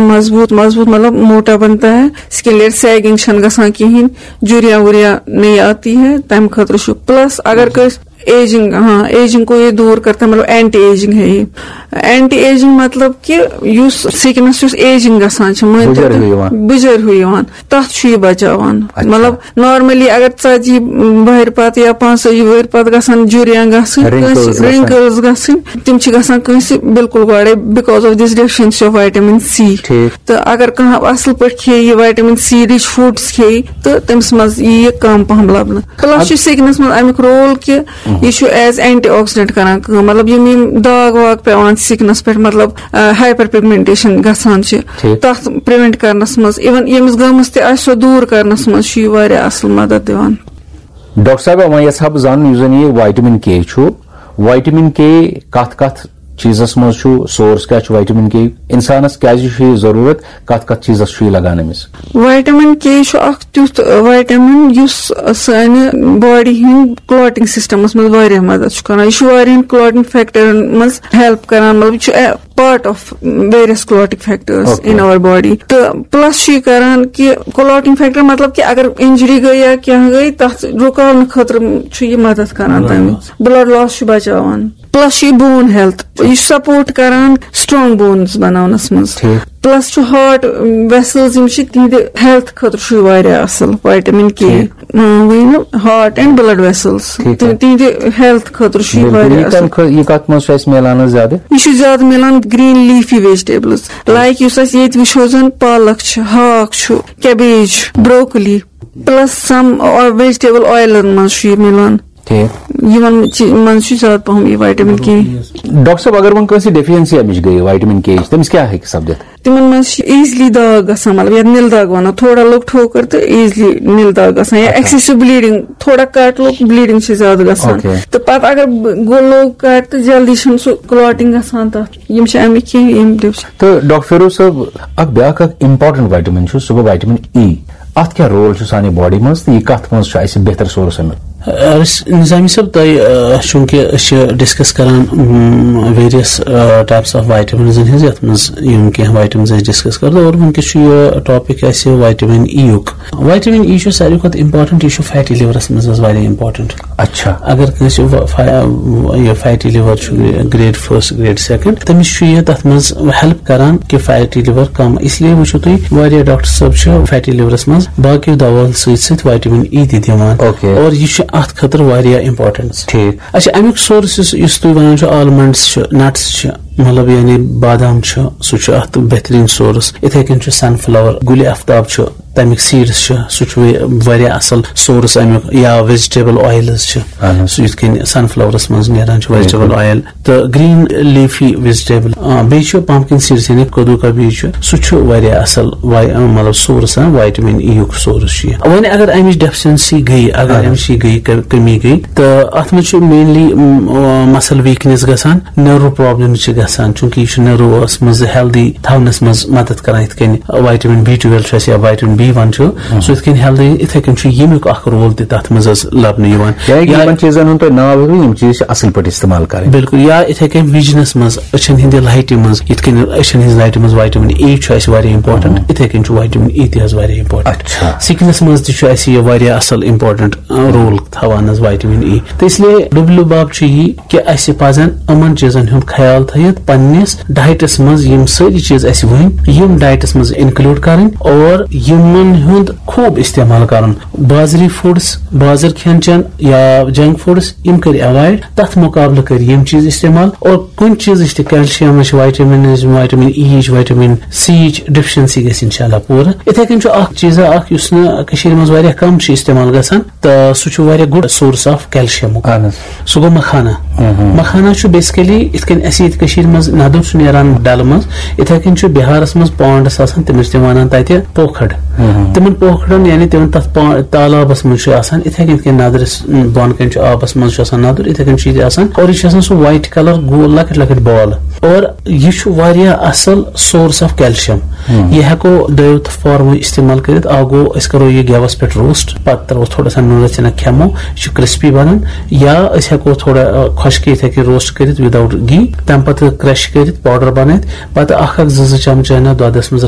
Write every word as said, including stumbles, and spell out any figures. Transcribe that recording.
مضبوط مضبوط مطلب موٹا بنتا ہے، اسکلیٹ سیگنگ چھنہٕ گژھان کہیٖنۍ، جُریاں وُریاں نہیں آتی ہے، تمہِ خٲطرٕ چھُ۔ پلس اگر کٲنٛسہِ ایجنگ، ہاں، ایجنگ کو یہ دور کرتا ہے، مطلب اینٹی ایجنگ ہے یہ۔ اینٹی ایجنگ مطلب کہ یُس سکنس یُس ایجنگ گژھان چھِ، مٲنۍ تو بُجر تُہۍ، ہیوٗ یِوان۔ بُجر ہیوٗ یِوان، تتھ چھُ یہِ بچاوان۔ اچھا۔ مطلب نارملی اگر ژتجی وہرِ پتہٕ یا پانٛژتٲجی وہرِ پتہٕ گژھن جُریاں گژھٕنۍ، رنکلز کٲنٛسہِ گژھن۔ رنکلز گژھٕنۍ، تِم چھِ گژھان کٲنٛسہِ بالکل گۄڈے because of this deficiency of vitamin C۔ ٹھیٖک۔ تہٕ اگر کانٛہہ اصل پٲٹھۍ کھیٚیہِ یہِ وائٹامن سی رِچ فوڈس کھیٚیہِ، تہٕ تٔمِس منٛز یی یہِ کم پہم لبنہٕ۔ پلس چھُ سکنس منٛز امیُک رول کہِ یہِ چھُ ایز اینٹی آکسیڈنٹ کران کٲم، مطلب یِم یِم داغ واغ پیوان سکنس پٮ۪ٹھ، مطلب ہائپر پگمنٹیشن گژھان چھِ، ٹھیٖک۔ تتھ پریونٹ کرنس منٛز، ایون ییٚمِس گٔمٕژ تہِ آسہِ سۄ دوٗر کرنس منٛز چھُ یہِ واریاہ اصل مدد دِوان۔ ڈاکٹر صاحبہ، وۄنۍ یژھٕ ہا بہٕ زانُن، یُس زن یہِ وائٹامن کے چھُ، وائٹامن کے کتھ کتھ چیٖزس منٛز چھُ، سورس کیٛاہ چھُ وائٹامن کے، انسانس کیٛازِ چھُ یہِ ضروٗرت، کتھ کتھ چیٖزس چھُ یہِ لگان أمِس؟ وائٹامن کے چھُ اکھ تیُتھ وائٹامن یُس سانہِ باڈی ہٕنٛدۍ کلاٹنگ سسٹمس منٛز واریاہ مدد چھُ کران۔ یہِ چھُ واریاہن کلاٹنگ فیکٹرن منٛز ہیلپ کران، مطلب یہِ چھُ part of various clotting factors Okay. in our body۔ تہٕ پلس چھُ یہِ کران کہِ کلاٹنگ فیکٹر، مطلب کہِ اگر انجری گٔے یا کینٛہہ گٔے، تتھ رُکاونہٕ خٲطرٕ چھُ یہِ مدد کران تمہِ۔ بلڈ لاس چھُ بچاوان۔ پلس چھُ یہِ بون ہیلتھ، یہِ چھُ سپورٹ کران سٹرانگ بونز بناونس منٛز۔ ٹھیٖک۔ پلس چھُ ہارٹ ویسلز، یِم چھِ تِہنٛدِ ہیلتھ خٲطرٕ چھُ یہِ واریاہ اصل وائٹامن کے۔ ٹھیٖک۔ اۭں، وۄنۍ نہٕ ہارٹ اینڈ بلڈ ویسلز، ٹھیٖک۔ تِہنٛدِ ہیلتھ خٲطرٕ چھُ یہِ بِلکُل، واریاہ یہِ اصل۔ کَمہِ خٲ-، یہِ کَتھ منٛز چھُ اَسہِ میلان حظ زیادٕ؟ یہِ چھُ زیادٕ میلان گرین لیفی ویجیٹیبلز، لایک یُس اَسہِ ییٚتہِ وٕچھو زَن پالک چھِ، ہاکھ چھُ، کیبیج چھُ، بروکلی، پلس سم ویجیٹیبل آیلن منٛز چھُ یہِ میلان۔ ٹھیٖک۔ یِمن چی-، منٛز چھُ زیادٕ پَہَم یہِ وائٹامن کے۔ ڈاکٹر صٲب، اگر وۄنۍ کٲنٛسہِ ڈیفیشنسی اَمِچ گٔیے وائٹامن کے یِچ، تٔمِس کیٛاہ ہیٚکہِ سپدِتھ؟ تِمن منٛز چھِ ایزلی داغ گژھان، مطلب یتھ نِل داغ ونو، تھوڑا لوٚگ ٹھوکر تہٕ ایزلی نِل داغ گژھان، یا اچھا۔ ایکسیسو بلیڈنگ، تھوڑا کٹ لوٚگ، بلیڈنگ چھِ زیادٕ گژھان۔ اوکے۔ تہٕ پتہٕ اگر ب-، گوٚو لوٚگ کٹ تہٕ جلدی چھُنہٕ سُہ کلاٹنگ گژھان تتھ۔ یِم چھِ امیِکۍ کینٛہہ یِم ڈِفشن۔ تہٕ ڈاکٹر فیروز صٲب، اکھ بیاکھ اکھ امپورٹنٹ وائٹامن چھُ، سُہ گوٚو وائٹامن ای۔ اتھ کیٛاہ رول چھُ سانہِ باڈی منٛز تہٕ یہِ کتھ منٛز چھُ اسہِ بہتر سورس امیُک؟ أسۍ، نظامی صٲب، تۄہہِ، آ، چوٗنٛکہِ أسۍ چھِ ڈسکس کران، م، various، آ، types of vitamins ہٕنٛز، یتھ منٛز یِم کینٛہہ وائٹامنز أسۍ ڈسکس کرو، اور وٕنکیٚس چھُ یہِ ٹاپک اسہِ وائٹامن ای یُک۔ وائٹامن ای چھُ ساروی کھۄتہٕ امپورٹنٹ، یہِ چھُ فیٹی لِورس منٛز حظ واریاہ امپورٹنٹ۔ اچھا۔ اگر کٲنٛسہِ وا-، فا-، یہِ فیٹی لِور چھُ گریڈ فرسٹ، گریڈ سیکنڈ، تٔمِس چھُ یہِ تتھ منٛز ہیلپ کران کہِ فیٹی لِور کم۔ اس لیے وٕچھِو تُہۍ، واریاہ ڈاکٹر صٲب چھِ فیٹی لِورس منٛز باقیو دواہن سۭتۍ سۭتۍ وائٹامن ای تہِ دِوان۔ اوکے۔ اور یہِ چھُ اتھ خٲطرٕ واریاہ امپورٹنٹ۔ ٹھیٖک۔ اچھا، امیُک سورس یُس، یُس تُہۍ ونان چھِو، آلمنڈس چھِ، نٹس چھِ، مطلب یعنی بادام چھُ، سُہ چھُ اتھ بہترین سورس۔ یِتھے کٔنۍ چھُ سن فلاور، گُلِ افتاب چھُ، تمیُک سیڈس چھُ، سُہ چھُ وے-، واریاہ اصل سورس امیُک، یا ویجیٹیبل آیلز چھِ۔ اہن حظ۔ سُہ یِتھ کٔنۍ سن فلاورس منٛز نیران چھُ ویجیٹیبل بِلکُل۔ آیل، تہٕ گرین لیفی ویجیٹیبل۔ آ، بیٚیہِ چھُ پمپکن سیڈس، یعنی کدو کا بیج چھُ، سُہ چھُ واریاہ اصل وای-، مطلب سورس، آ، وائٹامن ای یُک سورس چھُ یہِ۔ وۄنۍ اگر امِچ ڈیفیشنسی گٔیہِ، اگر اہن۔ امِچ یہِ گٔیہِ ک-، کمی گٔیہِ، تہٕ اتھ منٛز چھُ مینلی، م، آ، مسل ویکنس گژھان، نٔرو پرابلم چھِ گژھان، چونکہ یہِ چھُ نٔروس منٛز ہیلدی تھاونس منٛز مدد کران، یِتھ کٔنۍ وائٹامن بی ٹویلو چھُ اَسہِ یا وائٹامن بی ون چھُ، ہم۔ سُہ یِتھ کٔنۍ ہیلدی، یِتھے کٔنۍ چھُ ییٚمیُک اکھ رول تہِ تتھ منٛز حظ لبنہٕ یِوان۔ یعنی کہ یا یِمن چیٖزن ہُنٛد تۄہہِ ناو ہیٚکِو، یِم چیٖز چھِ اصل پٲٹھۍ استعمال کرٕنۍ۔ بِلکُل، یا یِتھے کٔنۍ وِجنس منٛز، أچھن ہٕنٛدِ لایٹہِ منٛز، یِتھ کٔنۍ أچھن ہٕنٛز لایٹہِ منٛز وائٹامن اے چھُ اَسہِ واریاہ امپورٹنٹ، ہم۔ یِتھے کٔنۍ چھُ وائٹامن ای تہِ حظ واریاہ امپورٹنٹ۔ اچھا۔ سکنس منٛز تہِ چھُ اَسہِ یہِ واریاہ اصل امپورٹنٹ، آ، رول تھاوان حظ وائٹامن ای۔ تہٕ اس لیے لُبہِ لُباب چھُ یی کہِ اَسہِ پَزَن یِمَن چیٖزَن ہُنٛد خیال تھٲیِتھ پنٛنِس ڈایٹَس منٛز، یِم سٲری چیٖز اَسہِ ؤنۍ، یِم ڈایٹَس منٛز اِنکلوٗڈ کَرٕنۍ اور یِمَن ہُنٛد خوٗب استعمال کَرُن۔ بازری فوڈٕس، بازر کھٮ۪ن چٮ۪ن یا جنک فوڈٕس، یِم کٔرۍ ایوایڈ، تَتھ مُقابلہٕ کٔرۍ یِم چیٖز استعمال، اور کُنہِ چیٖزٕچ تہِ، کیلشیمٕچ، وائٹامنٕچ، وائٹامن ای یِچ، وائٹامن سی یِچ ڈیفیشنسی گژھِ انشاءاللہ پوٗرٕ۔ یِتھَے کٔنۍ چھُ اَکھ چیٖزا اَکھ، یُس نہٕ کٔشیٖرِ منٛز واریاہ کَم چھُ استعمال گژھان، تہٕ سُہ چھُ واریاہ گُڈ سورس آف کیلشیمُک۔ اہن حظ۔ سُہ گوٚو مکھانا۔ مہم۔ مکھانا چھُ بیسکلی یِتھ کٔنۍ اَسہِ ییٚتہِ کٔشیٖرِ منٛز ندُر چھُ نیران ڈلہٕ منٛز، یِتھَے کٔنۍ چھُ بِہارَس منٛز پانڈس آسان، تٔمِس چھِ تِم وَنان تَتہِ پوکھڑ۔ مہم۔ تِمَن پوکھڑَن، یعنی تِمَن تَتھ پا-، تالابَس منٛز چھُ آسان، یِتھَے کٔنۍ یِتھ کٔنۍ ندرِس بۄن کَنہِ چھُ آبَس منٛز چھُ آسان ندُر، یِتھَے کٔنۍ چھُ ییٚتہِ آسان۔ اور یہِ چھُ آسان سُہ وایٹ کلر گول، لۄکٕٹۍ لۄکٕٹۍ بال۔ اور یہِ چھُ واریاہ اصل سورس آف کیلشیم۔ ہم۔ یہِ ہٮ۪کو دۄیو تہٕ فارمو استعمال کٔرِتھ۔ اکھ گوٚو، أسۍ کرو یہِ گیوَس پٮ۪ٹھ روسٹ، پتہٕ ترٛاوو تھوڑا سا نُنہٕ ژِنَک، کھٮ۪مو، یہِ چھُ کرسپی بنان۔ یا أسۍ ہٮ۪کو تھوڑا، آ، خۄشکہِ یِتھَے کٔنۍ روسٹ کٔرِتھ without ghee، تَمہِ پتہٕ کرش کٔرِتھ پاؤڈر بنٲوِتھ، پتہٕ اکھ اکھ زٕ زٕ چمچہٕ انہِ دۄدس منٛز۔